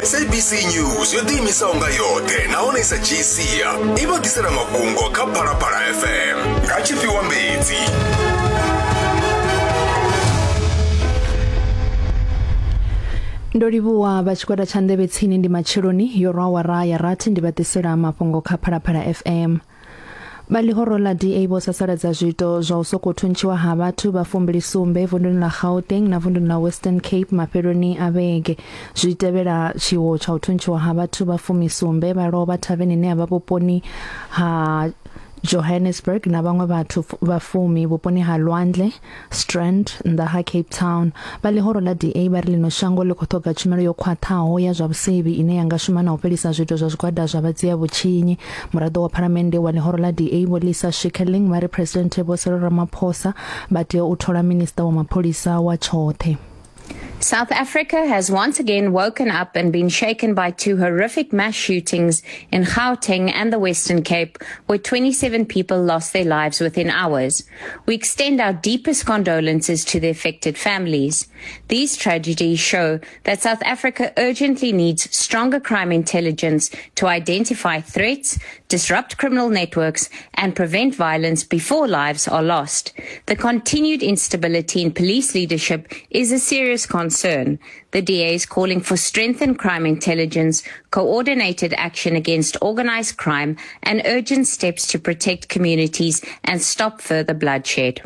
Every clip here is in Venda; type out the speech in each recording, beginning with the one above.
SABC News yo ḓiimisaho nga yoṱhe nahone i sa dzhii sia i vha ḓisela mafhungo kha Phalaphala FM nga tshifhiwa mbedzi. Ndo livhuwa vha tshigwada tsha nḓevhe tsini ndi matsheloni yo rwa awara ya rathi ndi vha ḓisela mafhungo kha Phalaphala FM. Vha ḽihoro ḽa DA vho sasaladza zwiito zwa u sokou thuntshiwa ha vhathu vha fumbili sumbe vunduni ḽa Gauteng na vunduni ḽa Western Cape mafheloni a vhege. Zwi tevhela tshiwo tsha u thuntshiwa ha vhathu vha fumisumbe vha lovha thaveni ine ya vha vhuponi ha Johannesburg na vhaṅwe vhathu vha fumi vhuponi ha Lwandle Strand nnḓa ha Cape Town. Vha ḽihoro ḽa DA vha ri ḽino shango ḽi khou ṱhoga tshumelo yo khwaṱhaho ya zwa vhusevhi ine ya nga shuma na u fhelisa zwiito zwa zwigwada zwa vhadzia vhutshinyi. Muraḓo wa phalamennde wa ḽihoro ḽa DA Vho Lisa Schickerling vha ri Phresidennde Vho Cyril Ramaphosa vha tea u thola minisiṱa wa mapholisa wa tshoṱhe. South Africa has once again woken up and been shaken by two horrific mass shootings in Gauteng and the Western Cape, where 27 people lost their lives within hours. We extend our deepest condolences to the affected families. These tragedies show that South Africa urgently needs stronger crime intelligence to identify threats, disrupt criminal networks, and prevent violence before lives are lost. The continued instability in police leadership is a serious concern. The DA is calling for strengthened crime intelligence, coordinated action against organized crime, and urgent steps to protect communities and stop further bloodshed.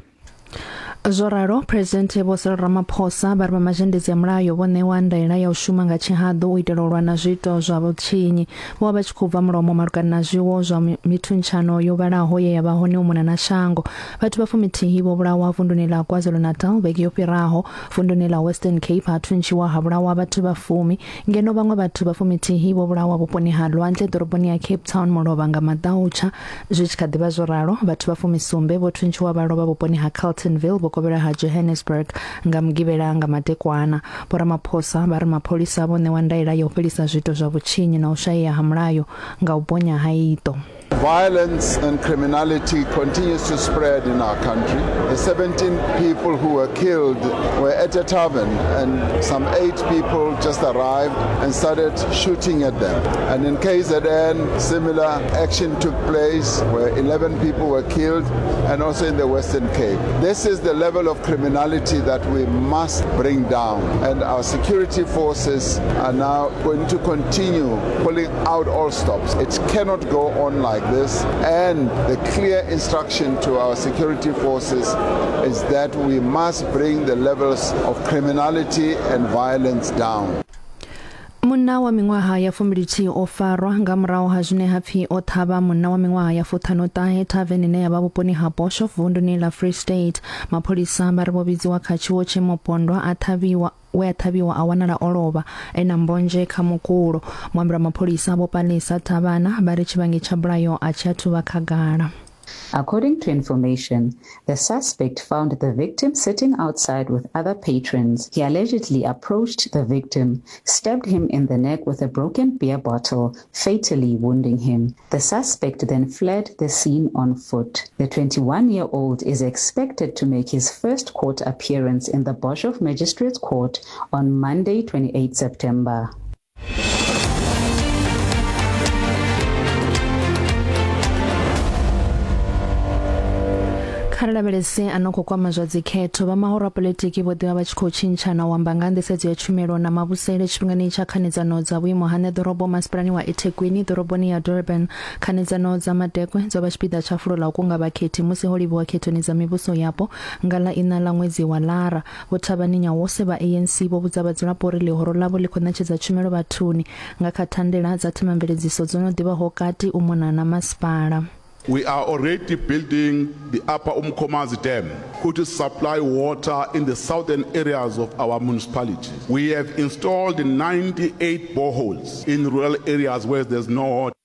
Zwo ralo, Phresidennde Vho Cyril Ramaphosa vha ri vha mazhendedzi a mulayo vho ṋewa ndaela ya u shuma nga tshihaḓu u itela u lwa na zwiito zwa vhutshinyi. Vho vha vha tshi khou bva mulomo malugana na zwiwo zwa mithuntshano yo vhalaho ye ya vha hone u mona na shango. Vhathu vha fumithihi vho vhulawa vunduni ḽa KwaZulu-Natal vhege yo fhiraho. Vunduni ḽa Western Cape ha thuntshiwa ha vhulawa vhathu vha fumi, ngeno vhaṅwe vhathu vha fumithihi vho vhulawa vhuponi ha lwanzhe ḓoroboni ya Cape Town mulovha nga maḓautsha. Zwi tshi kha ḓi vha zwo ralo, vhathu vha fumisumbe vho thuntshiwa vha lovha vhuponi ha Carltonville vhukovhela ha Johannesburg nga Mugivhela nga madekwana. Vho Ramaphosa vha ri mapholisa vho ṋewa ndaela ya u fhelisa zwiito zwa vhutshinyi na u shayea ha mulayo nga u bonya ha iṱo. Violence and criminality continues to spread in our country. The 17 people who were killed were at a tavern and some eight people just arrived and started shooting at them. And in KZN, similar action took place where 11 people were killed and also in the Western Cape. This is the level of criminality that we must bring down. And our security forces are now going to continue pulling out all stops. It cannot go on like this. And the clear instruction to our security forces is that we must bring the levels of criminality and violence down. Munna wa miṅwaha ya fumbilithihi o farwa nga murahu ha zwine ha pfi o ṱhavha munna wa miṅwaha ya fuṱhanuṱahe thaveni ine ya vha vhuponi ha Boshoff vunduni ḽa Free State. Mapholisa vha ri vho vhidziwa kha tshiwo tshe mupondwa a ṱhavhiwa we a ṱhavhiwa a wanala o lovha e na mbonzhe kha mukulo. Muambeli wa mapholisa Vho Palesa Thavhana vha ri tshivhangi tsha bulayo a tshi athu vha khagala. According to information, the suspect found the victim sitting outside with other patrons. He allegedly approached the victim, stabbed him in the neck with a broken beer bottle, fatally wounding him. The suspect then fled the scene on foot. The 21 year old is expected to make his first court appearance in the Boshoff Magistrates Court on Monday, 28 September. Kha ri lavhelese a no khou kwama zwa dzikhetho vha mahoro a politiki vho ḓivha vha tshi khou tshintshana u amba nga nḓisedzo ya tshumelo na mavhusele tshifhingani tsha khanedzano dza vhuimo ha ṋeḓorobo masipalani wa eThekwini ḓoroboni ya Durban khanedzano dza madekwe dzo vha tshipiḓa tsha fulo ḽa u kunga vhakhethi musi ho livhiwa khethoni dza mivhuso yapo nga ḽa iṋa ḽa ṅwedzi wa Lara Vho Thabani Nyawose vha ANC vho vhudza vhadzulapo uri ḽihoro ḽavho ḽi khou ṋetshedza tshumelo vhathuni nga kha thandela dza themamveledziso dzo no ḓivhaho kati u mona na masipala. We are already building the Upper Umkomazi Dam, which will supply water in the southern areas of our municipality. We have installed 98 boreholes in rural areas where there's no water.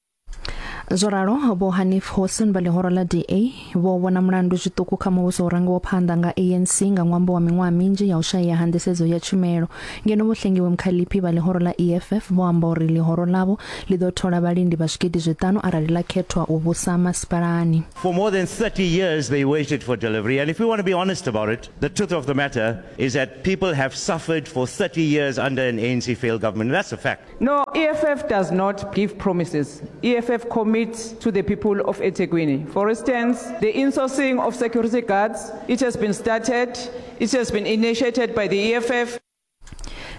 Zwo ralo, Vho Hanif Hoosen vha ḽihoro ḽa DA vho vhona mulandu zwiṱuku kha muvhuso u rangiwaho phanḓa nga ANC nga ṅwambo wa miṅwaha minzhi ya u shayea ha nḓisedzo ya tshumelo. Ngeno Vho Hlengiwe Mkhaliphi vha ḽihoro ḽa EFF vho amba uri ḽihoro ḽavho ḽi ḓo thola vhalindi vha zwigidi zwiṱanu arali ḽa khethwa u vhusa masipalani. For more than 30 years they waited for delivery and if we want to be honest about it, the truth of the matter is that people have suffered for 30 years under an ANC failed government. That's a fact. No, EFF does not give promises. EFF commits to the people of eThekwini. For instance, the insourcing of security guards, it has been started, it has been initiated by the EFF.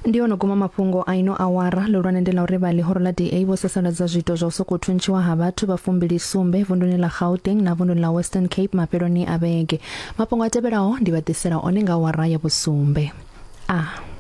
Ndi ono guma mafhungo a ino awara ḽihulwane ndi ḽa uri vha ḽihoro ḽa DA vho sasaladza zwiito zwa u sokou thuntshiwa ha vhathu vha fumbili sumbe vunduni ḽa Gauteng na vunduni ḽa Western Cape mafheloni a vhege. Mafhungo a tevhelaho ndi vha ḓisela one nga awara ya vhusumbe. A.